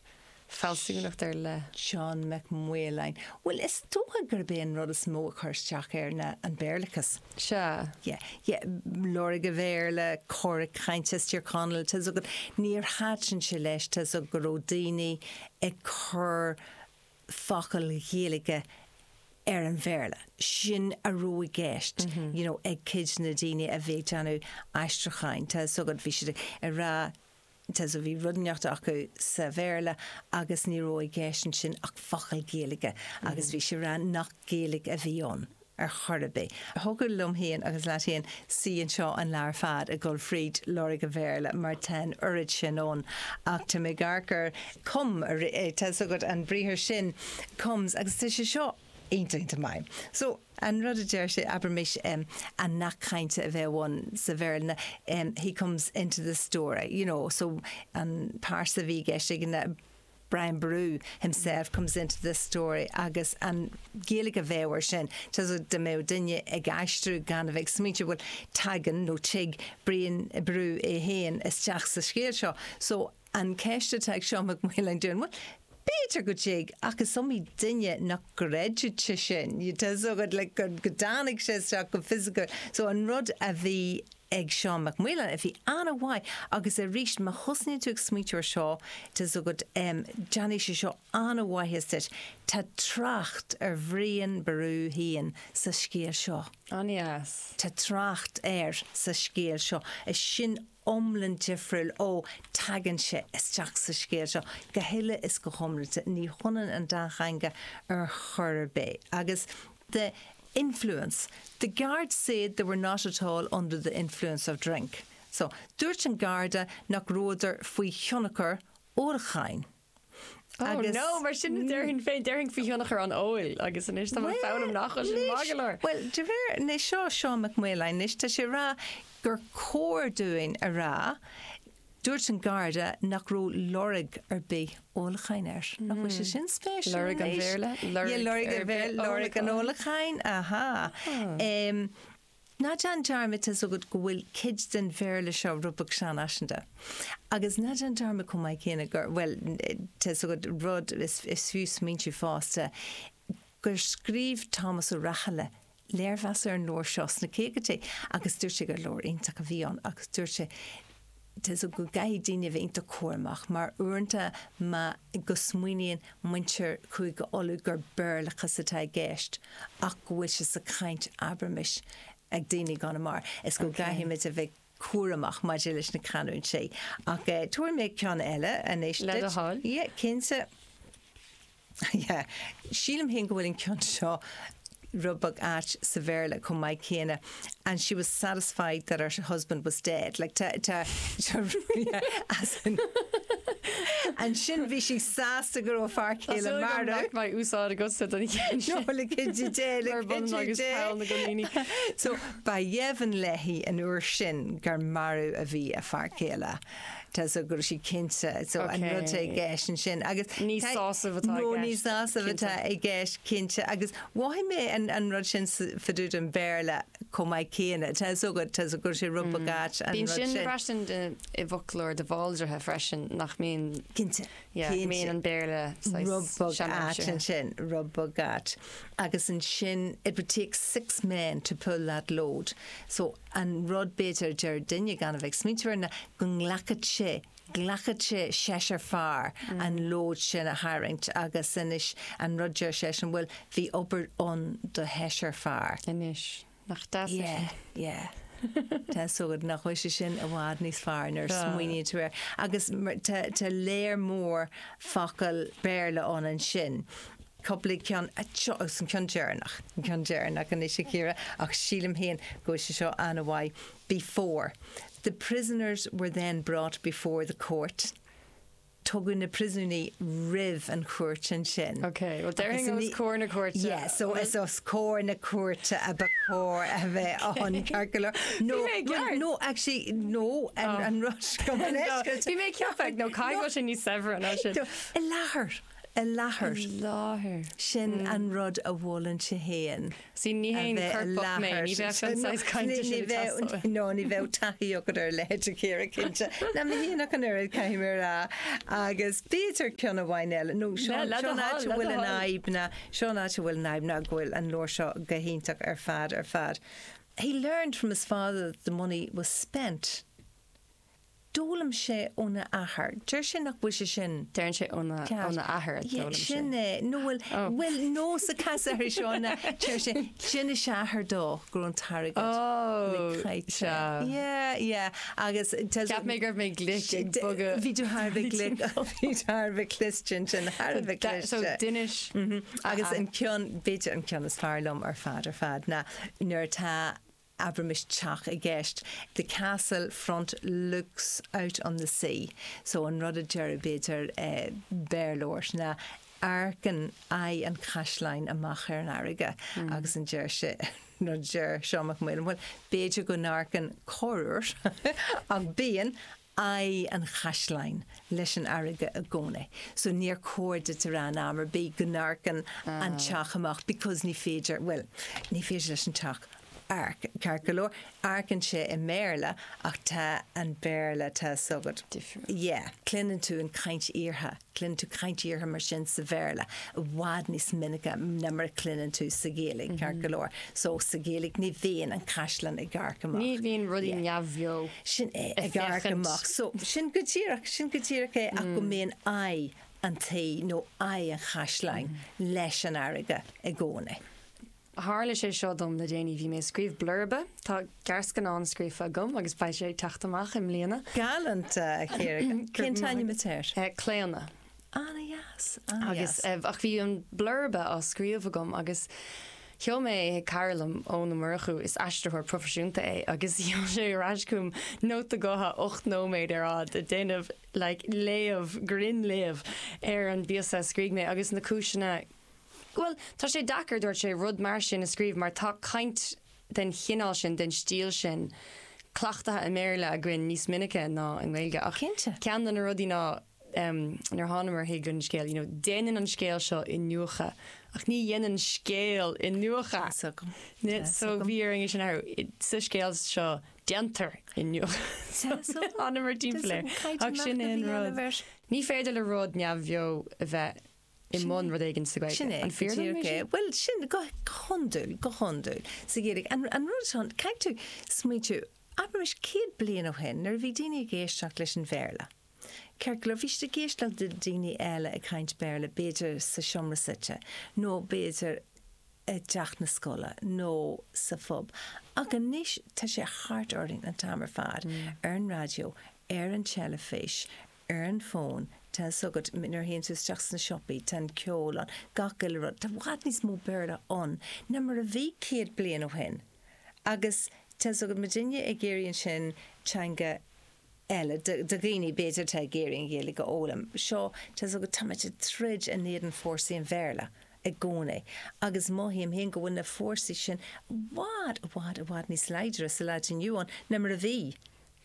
[SPEAKER 2] fealsúnacht ar leith.
[SPEAKER 1] Seán Mac Maoláin. Well is dócha gurb é an rud is mó a chuir isteach air ná an Béarlachas.
[SPEAKER 2] Sea.
[SPEAKER 1] Yeah, yeah, lorg an Bhéarla cora cainte Tír Chonaill tá agat níor thaitin sé leis tá go raibh daoine ag cur focail Ghaeilge ar an Bhéarla. Sin a raibh i gceist, you know, ag cuid na daoine a bhí ag déanamh aistriúcháin tá so bhí siad ag rá Tá so bhí rud inteacht acu sa Bhéarla agus ní raibh i gceist ansin ach focail Ghaeilge agus bhí sé rá nach Gaeilge a bhí ann ar chor ar bith. Thiocfadh liom féin agus leat féin suí anseo an lá ar fad ag dul fríd lorg an Bhéarla mar tá an oiread sin ann ach tá mé gar gur come tá agat an briathar sin comes agus tá sé seo iontach maith. So an rud a deir sé abraimis um, an nath cainte a bheith ann sa Bhéarla um, he comes into the story, you know, so an pearsa a bhí i gceist ag na Brian Boru himself comes into this story agus an Ghaeilge a bheadh air sin Tá dá mbeadh duine ag aistriú gan a bheith smaointe bhfuil tagann nó tig Brian Boru é féin isteach sa scéal seo. So an ceist atá ag Seán Mac Maoláin dúinn, well, B'fhéidir go dtig ach is iomaí duine nach gcreideann sé sin, tá agat le go go dtáinig sé isteach go fisiciúil. So an rud a bhí ag Seán Mac Maoláin a bhí an-mhaith agus arís má thosnaíonn tú ag smaointiú air seo tá agat um, déanfaidh sé seo an-mhaitheas duit. Tá trácht ar Bhrian Boru féin sa scéal seo.
[SPEAKER 2] An-deas.
[SPEAKER 1] Tá trácht air sa scéal seo. Is sin iomlán difriúil ó tagann sé isteach sa scéal seo go huile is go hiomlán ní hionann an dá theanga ar chor ar bith. Agus the influence. The guards said they were not at all under the influence of drink. So dúirt an garda nach rabhadar faoi thionchar ólacháin.
[SPEAKER 2] Oh no, mar sin déarfainn féin déarfainn faoi thionchar an óil agus anois tá foghlaim nach sin maith go leor.
[SPEAKER 1] Well, de réir né seo Seán Mac Maoláin anois tá sé rá gur cóir dúinn a rá dúirt an garda nach raibh lorg ar bith ólacháin air. Nach bhfuil sé sin spéisiúil
[SPEAKER 2] Lorg an
[SPEAKER 1] anois?
[SPEAKER 2] Bhéarla?
[SPEAKER 1] Yeah, lorg
[SPEAKER 2] ar
[SPEAKER 1] an
[SPEAKER 2] bith
[SPEAKER 1] Bhéarla, lorg an ólacháin, aha. Um, Ná déan dearmad tá agat go bhfuil cuid den Bhéarla seo rud beag seanfhaiseanta. Agus ná déan dearmad chomh maith céanna gur well tá agat rud is, is fiú smaointiú fosta gur scríobh Thomas Ó Rathaille léirmheas ar an leabhar seo sna caogaidí agus dúirt sé gur leabhar iontach a bhí ann agus dúirt sé Tá go gcaithfidh daoine bheith iontach cúramach mar uaireanta má go smaoiníonn muintir Chúige Uladh gur Béarlachas atá i gceist ach go bhfuil sé sa chaint abraimis ag daoine i gConamara is go gcaithfimid a bheith cúramach maidir leis na canúintí. Ach eh, tabharfaidh mé ceann eile anois
[SPEAKER 2] Le do
[SPEAKER 1] duit.
[SPEAKER 2] thoil.
[SPEAKER 1] Yeah, cinnte. Yeah. Sílim féin go bhfuil an ceann seo rud beag ait sa Bhéarla chomh maith céanna and she was satisfied that her husband was dead like tá tá yeah, as in ansin bhí sí sásta go raibh fear céile marbh
[SPEAKER 2] Beidh úsáid agatsa don cheann
[SPEAKER 1] No, le cinnte dé, le
[SPEAKER 2] Mar bun
[SPEAKER 1] cinnte
[SPEAKER 2] agus
[SPEAKER 1] dé.
[SPEAKER 2] poll na gcoiníní.
[SPEAKER 1] So ba dheimhin léi an uair sin gur marbh a bhí a fear céile. Tá so go raibh sí cinnte so an
[SPEAKER 2] Okay.
[SPEAKER 1] rud i gceist ansin agus
[SPEAKER 2] Ní
[SPEAKER 1] tá-
[SPEAKER 2] sásamh atá i
[SPEAKER 1] No, ní
[SPEAKER 2] gceist,
[SPEAKER 1] sásamh atá
[SPEAKER 2] cinnte.
[SPEAKER 1] i gceist cinnte agus mhothaigh mé an, an rud sin fá dtaobh den Bhéarla chomh maith céanna Tá so go tá so go raibh sé rud beag ait an
[SPEAKER 2] Bíonn
[SPEAKER 1] rud
[SPEAKER 2] sin
[SPEAKER 1] sin.
[SPEAKER 2] freisin i bhfoclóir de Bhaldraithe freisin nach mbíonn
[SPEAKER 1] Cinnte.
[SPEAKER 2] yeah,
[SPEAKER 1] cinnte.
[SPEAKER 2] mbíonn an Béarla
[SPEAKER 1] Rud beag ait ansin, rud beag ait. Agus ansin it would take six men to pull that load. So an rud b'fhéidir deir duine gan a bheith smaointiú air ná go nglacfadh sé glacfadh sé seisear fear an load sin a tharraingt agus anois an rud deir sé sin bhfuil bhí obair ann do sheisear fear.
[SPEAKER 2] Anois nach deas é
[SPEAKER 1] Yeah, yeah. Tá so nach bhfuil sé sin i bhfad níos fearr nuair
[SPEAKER 2] Ah.
[SPEAKER 1] smaoiníonn tú air. Agus mar- tá tá léir mór focal Béarla ann ansin. Cúpla ceann seo an ceann deireanach ceann deireanach anois a Chiara ach sílim féin go sé seo an-mhaith before. The prisoners were then brought before the court. Tugadh na príosúnaigh roimh an chúirt ansin.
[SPEAKER 2] Ok, well déarfainn os comhair na cúirte.
[SPEAKER 1] Yeah, so is os comhair na cúirte a ba chóir a bheith ann ceart go leor. No, well, no, actually, no, an, oh. an rush go
[SPEAKER 2] Bhí mé ceapag nó caiil sin níos saibhre ná sin.
[SPEAKER 1] I láthair. I láthair.
[SPEAKER 2] I láthair.
[SPEAKER 1] Sin an rud a mholann sé féin.
[SPEAKER 2] Sí ní haon corpach mé, ní bheadh an saghas cainte sin ag teastáil.
[SPEAKER 1] No, ní bheadh taithí agat ar a leithéid a Chiara cinnte. Ná mé féin ach an oiread caithfidh mé a rá. Agus b'fhéidir ceann amháin eile, nó seo an áit a bhfuil an fhadhb ná, seo an áit a bhfuil an fhadhb ná go bhfuil an leabhar seo go hiontach ar fad ar fad. He learned from his father that the money was spent. D'fhoghlaim sé óna athair. Deir sé nach bhfuil sé sin.
[SPEAKER 2] Deireann sé óna óna athair a d'fhoghlaim sé.
[SPEAKER 1] Sin é. No bhfuil bhfuil nó sa cás ar seo na deir sé d'inis a athair dó go raibh an t-airgead caite. Yeah, yeah. Agus
[SPEAKER 2] Cheap mé go raibh mé glic ag bogadh.
[SPEAKER 1] Bhí tú thar a bheith glic bhí tú thar a bheith cliste ansin, thar a bheith cliste.
[SPEAKER 2] So d'inis.
[SPEAKER 1] Agus an ceann, b'fhéidir an ceann is fearr liom ar fad ar fad ná nuair atá abraimis teach i gceist, the castle front looks out on the sea. So an rud a deir b'fhéidir eh, Béarlóir ná amharcann aghaidh an chaisleáin amach ar an fharraige mm. agus an deir sé nó deir Seán Mac Maoil, bhuel b'fhéidir go n-amharcann corruair ach bíonn aghaidh an chaisleáin leis an fharraige i gcónaí. So níor chóir duit a rá in am ar bith go n-amharcann an teach amach because ní féidir, bhuel, ní féidir leis an teach amharc, ceart go leor, amharcann sé i mBéarla ach tá an Béarla tá 's agat.
[SPEAKER 2] Difriúil.
[SPEAKER 1] Yeah. Cluineann tú an chaint iartha, cluineann tú caint iartha mar sin sa Bhéarla i bhfad níos minice ná mar a chluineann tú sa Ghaeilge, ceart go leor. So sa Ghaeilge ní bhíonn an caisleán ag amharc amach.
[SPEAKER 2] Ní bhíonn rudaí neamhbheo.
[SPEAKER 1] Sin é, ag amharc amach. So sin go díreach, sin go díreach é ach go mbíonn aghaidh an tí nó aghaidh an chaisleáin leis an fharraige i gcónaí.
[SPEAKER 2] Tharla sé seo dom le déanaí, bhí mé ag scríobh blurba, tá gearrscannán scríofa agam agus beidh sé ag teacht amach i mbliana.
[SPEAKER 1] Galánta, a Chiara. Cén t-ainm atá air?
[SPEAKER 2] Claonadh.
[SPEAKER 1] Ana-dheas, ana-dheas.
[SPEAKER 2] Agus ach bhí an blurba á scríobh agam agus sheol mé é chuig cara liom, Eoin Ó Murchú, is aistritheoir proifisiúnta é, agus sheol sé ar ais chugam nóta gutha ocht nóiméad ar fhad ag déanamh like léamh, grinnléamh ar an bpíosa a scrígh mé agus na cúiseanna Bhuel, tá sé deacair, dúirt sé, rud mar sin a scríobh mar tá caint den chineál sin, den stíl sin, cleachtaithe i mBéarla againn níos minice ná i nGaeilge. Ach
[SPEAKER 1] Cinnte.
[SPEAKER 2] ceann de na rudaí ná, nuair a thánamar chuig an scéal, you know, déanann an scéal seo iniúchadh, ach ní dhéanann scéal iniúchadh.
[SPEAKER 1] Tá 's agam. Tá 's
[SPEAKER 2] So
[SPEAKER 1] agam.
[SPEAKER 2] bhí orainn é sin a athrú. Sa scéal seo, déantar iniúchadh.
[SPEAKER 1] Tá 's agam.
[SPEAKER 2] Thánamar timpeall air.
[SPEAKER 1] Tá 's agam.
[SPEAKER 2] Ach sin é an
[SPEAKER 1] Caighdeán
[SPEAKER 2] rud.
[SPEAKER 1] a bheith.
[SPEAKER 2] Ní féidir le rud neamhbheo a bheith i mbun rud éigin sa Ghaeilge.
[SPEAKER 1] Sin é,
[SPEAKER 2] An fíor dom é sin?
[SPEAKER 1] Bhuel, sin go hiondúil, go hiondúil sa Ghaeilge. An, an rud seo, caithfidh tú smaointiú, abraimis céad bliain ó shin, nuair a bhí daoine ag éisteacht leis an Bhéarla. Ceart go leor, bhí siad ag éisteacht le daoine eile ag caint Béarla, b'fhéidir sa seomra suite, nó b'fhéidir i dteach na scoile, nó sa phub. Ach anois tá sé thart orainn an t-am ar fad, ar an raidió, ar an teilifís, ar an bhfón, tá 's agat, nuair a théann tú isteach sna siopaí, tá an ceol ann, gach uile rud. Tá i bhfad níos mó Béarla ann ná mar a bhí céad bliain ó shin. Agus tá 's agat, muidinne ag iarraidh ansin teanga eile do dhaoine b'fhéidir atá ag iarraidh an Ghaeilge a fhoghlaim. Seo, tá 's agat, táimid ag troid in éadan fórsaí an Bhéarla i gcónaí. Agus mothaím féin go bhfuil na fórsaí sin i bhfad, i bhfad, i bhfad níos láidre sa lá atá inniu ann ná mar a bhí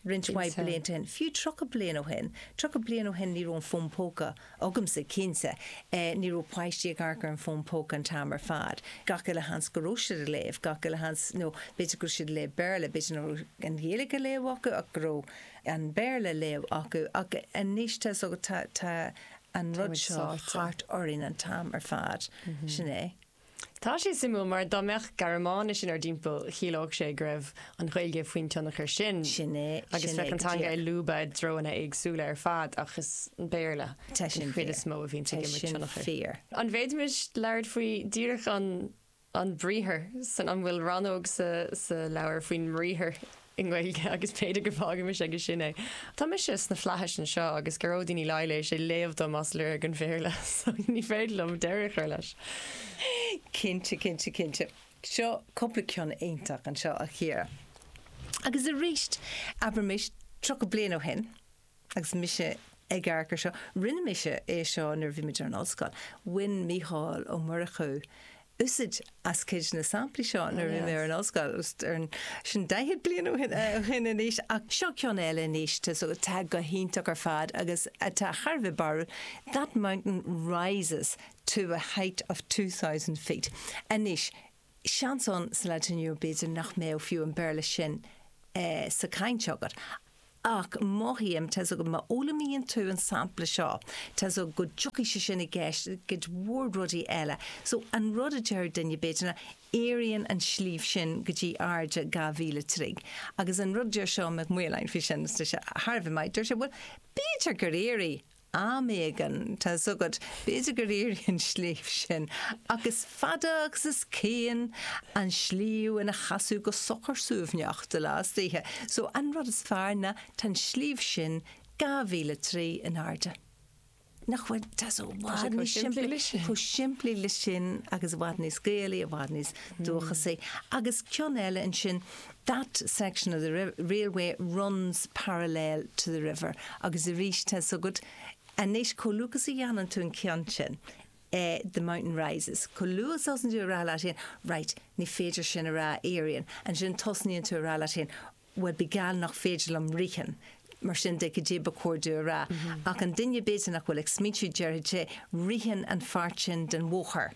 [SPEAKER 1] roinnt mhaith
[SPEAKER 2] Cinnte.
[SPEAKER 1] blianta ó shin, fiú tríocha bliain ó shin. Tríocha bliain ó shin ní raibh an fón póca agamsa, cinnte. Ní raibh páistí ag amharc ar an bhfón póca an t-am ar fad. Gach uile sheans go raibh siad ag léamh, gach uile sheans, nó b'fhéidir go raibh siad ag léamh Béarla, b'fhéidir nach raibh an Ghaeilge á léamh acu ach go raibh an Béarla á léamh acu. Ach anois tá 's agat, tá, tá an rud
[SPEAKER 2] muid
[SPEAKER 1] seo
[SPEAKER 2] sáite.
[SPEAKER 1] thart orainn an t-am ar fad. Sin é.
[SPEAKER 2] Tá sé suimiúil mar dá mbeadh Gearmáinis inár dtimpeall chiallódh sé go raibh an Ghaeilge faoin tionchar sin.
[SPEAKER 1] Sin é,
[SPEAKER 2] Agus
[SPEAKER 1] sin é
[SPEAKER 2] bheadh an
[SPEAKER 1] go
[SPEAKER 2] teanga
[SPEAKER 1] díreach.
[SPEAKER 2] ag lúbadh i dtreonna éagsúla ar fad ach is an Béarla
[SPEAKER 1] Tá sin
[SPEAKER 2] an chuid
[SPEAKER 1] fíor.
[SPEAKER 2] is mó a bhíonn
[SPEAKER 1] Tá
[SPEAKER 2] ag imirt
[SPEAKER 1] sin
[SPEAKER 2] tionchar.
[SPEAKER 1] fíor.
[SPEAKER 2] An bhféadfaimis labhairt faoi díreach an an briathar san an bhfuil rannóg sa, sa leabhar faoin mbriathar? i nGaeilge agus b'fhéidir go bhfágaimis aige sin é. Tá mise sna flaithis anseo agus Gearóidín Ní Laighléis ag léamh dom as lorg an Bhéarla, so ní féidir liom deireadh a chur leis.
[SPEAKER 1] Cinnte, cinnte, cinnte. Seo cúpla ceann iontach anseo a Chiara. Agus arís abraimis tríocha bliain ó shin, agus mise ag amharc air seo, rinne mise é seo nuair a bhí muid ar an ollscoil, bhain Mícheál Ó Murchú úsáid as cuid de na samplaí seo nuair a bhí mé ar an ollscoil, ar an sin daichead bliain ó shin ó shin anois, ach seo ceann eile anois tá so atá go hiontach ar fad agus atá thar a bheith barrúil, That mountain rises to a height of two thousand feet. Anois, seans ann sa lá atá inniu b'fhéidir nach mbeadh fiú an Béarla sin sa chaint agat, ach mothaím, tá 's agat, má fhoghlaimíonn tú an sampla seo, tá 's agat go dtiocfaidh sé sin i gceist i gcuid mhór rudaí eile. So, an rud a deir duine, b'fhéidir, ná éiríonn an sliabh sin go dtí airde dhá mhíle troigh. Agus an rud a deir Seán Mac Maoláin faoi sin, tá sé thar a bheith maith, deir sé, bhuel, b'fhéidir gur éirigh am éigin, tá 's agat, b'fhéidir gur éirigh an sliabh sin, ach is fada agus is caoin an sliabh ina sheasamh go socair suaimhneach de lá is d'oíche. So, an rud is fearr ná tá an sliabh sin dhá mhíle troigh in airde. Nach bhfuil, tá sé i bhfad níos simplí, chomh simplí le sin agus i bhfad níos Gaelaí, i bhfad níos dúchasaí. Agus ceann eile ansin, that section of the railway runs parallel to the river agus arís tá 's agat, Anois, chomh luath is a dhéanann tú an ceann sin, eh, the mountain rises, chomh luath is a thosaíonn tú a rá leat féin, right, ní féidir sin a rá, éiríonn, ansin tosnaíonn tú a rá leat féin, bhuel, by gall nach féidir liom ritheann, mar sin de, cad é ba chóir domh a rá. Ach an duine b'fhéidir nach bhfuil ag smaointiú, déarfaidh sé, ritheann an pháirt sin den bhóthar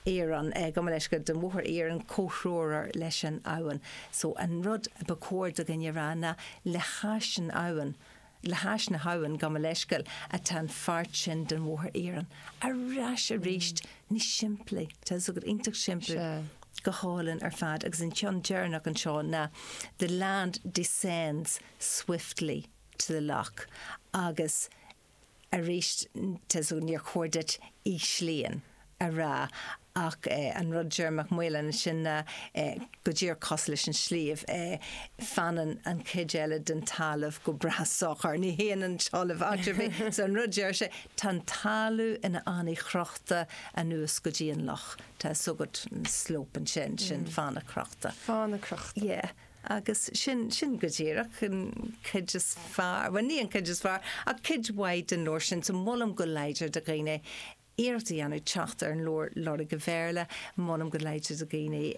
[SPEAKER 1] iarainn, eh, gabh mo leithscéal, den bhóthar iarainn comhthreomhar leis an abhainn. So, an rud ba chóir do dhuine a rá ná, le hais an abhann, Le hais na habhann, gabh mo leithscéal, atá an pháirt sin den bhóthar iarainn. Ar ais arís, níos simplí, tá 's agat, iontach simplí, go hálainn ar fad. Agus an ceann deireanach anseo ná The land descends swiftly to the loch agus arís, tá 's agat, níor chóir duit íslíonn a rá ach an rud a deir Mac Maoláin ansin ná go díreach cosúil leis an sliabh, fanann an chuid eile den talamh go breá socair, ní théann an talamh áit ar bith. So an rud a deir sé, tá an talamh ina fhánaí chrochta anuas go dtí an loch. Tá 's agat an slope ansin, sin fána chrochta.
[SPEAKER 2] Fána chrochta.
[SPEAKER 1] Yeah. Agus sin, sin go díreach an chuid is fearr, bhuel ní an chuid is fearr, ach cuid mhaith den leabhar sin. So molaim go láidir do dhaoine iarracht a dhéanamh teacht ar an leabhar Lorg an Bhéarla, molaim go láidir do dhaoine,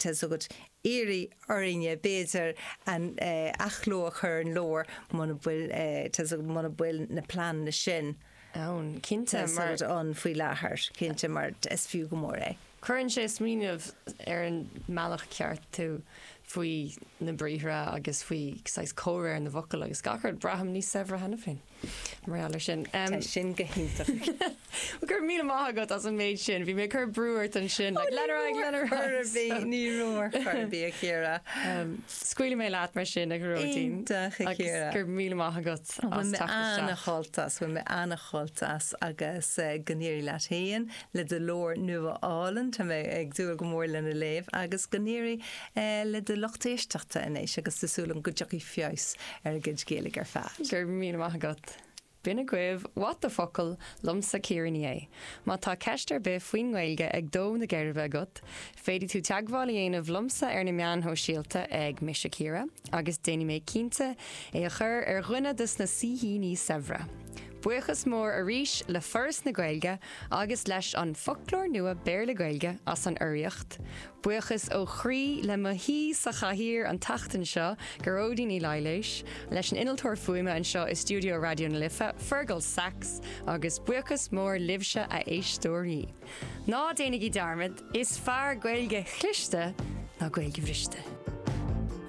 [SPEAKER 1] tá 's agat, iarraidh orainne, b'fhéidir, an athchló a chur ar an leabhar muna bhfuil, tá 's agat, muna bhfuil na pleananna sin
[SPEAKER 2] ann, cinnte,
[SPEAKER 1] mar ann faoi láthair, cinnte, mar is fiú go mór é.
[SPEAKER 2] Cuireann sé smaoineamh ar an mbealach ceart tú faoi na briathra agus faoi saghas comhréir na bhfocal agus gach rud. Braithim níos saibhre cheana féin mar gheall air sin.
[SPEAKER 1] Tá sin go hiontach.
[SPEAKER 2] Bhuel, go raibh míle maith agat as an méid sin. Bhí mé ag cur brú ort ansin, like, lean ar aghaidh, lean ar aghaidh.
[SPEAKER 1] Ní raibh ar chor ar bith, a Chiara.
[SPEAKER 2] Scaoilfidh mé leat mar sin, a Ghearóidín.
[SPEAKER 1] Iontach, a Chiara.
[SPEAKER 2] Agus go raibh míle maith agat as teacht isteach.
[SPEAKER 1] Bhain mé ana-shult as, bhain mé ana-shult as agus go n-éirí leat féin le do leabhar nua álainn, tá mé ag dúil go mór lena léamh agus go n-éirí le do lucht éisteachta anois agus tá súil agam go dtiocfaidh feabhas ar a gcuid Gaeilge ar fad.
[SPEAKER 2] Go raibh míle maith agat. B'in agaibh What the Focal liomsa Ciara Ní É. Má tá ceist ar bith faoin nGaeilge ag dó na geirbe agat, féadfaidh tú teagmháil a dhéanamh liomsa ar na meáin shóisialta ag Mise Ciara agus déanfaidh mé cinnte é a chur ar dhuine de na saoithíní saibhre. Buíochas mór arís le Foras na Gaeilge agus leis an Foclóir Nua Béarla-Gaeilge as an urraíocht. Buíochas ó chroí le mo shaoi sa chathaoir an tseachtain seo, Gearóidín Ní Laighléis, leis an innealtóir fuaime anseo i stiúideo Raidió na Life, Fergal Sachs, agus buíochas mór libhse a éisteoirí. Ná déanaigí dearmad, is fearr Gaeilge chliste ná Gaeilge bhriste.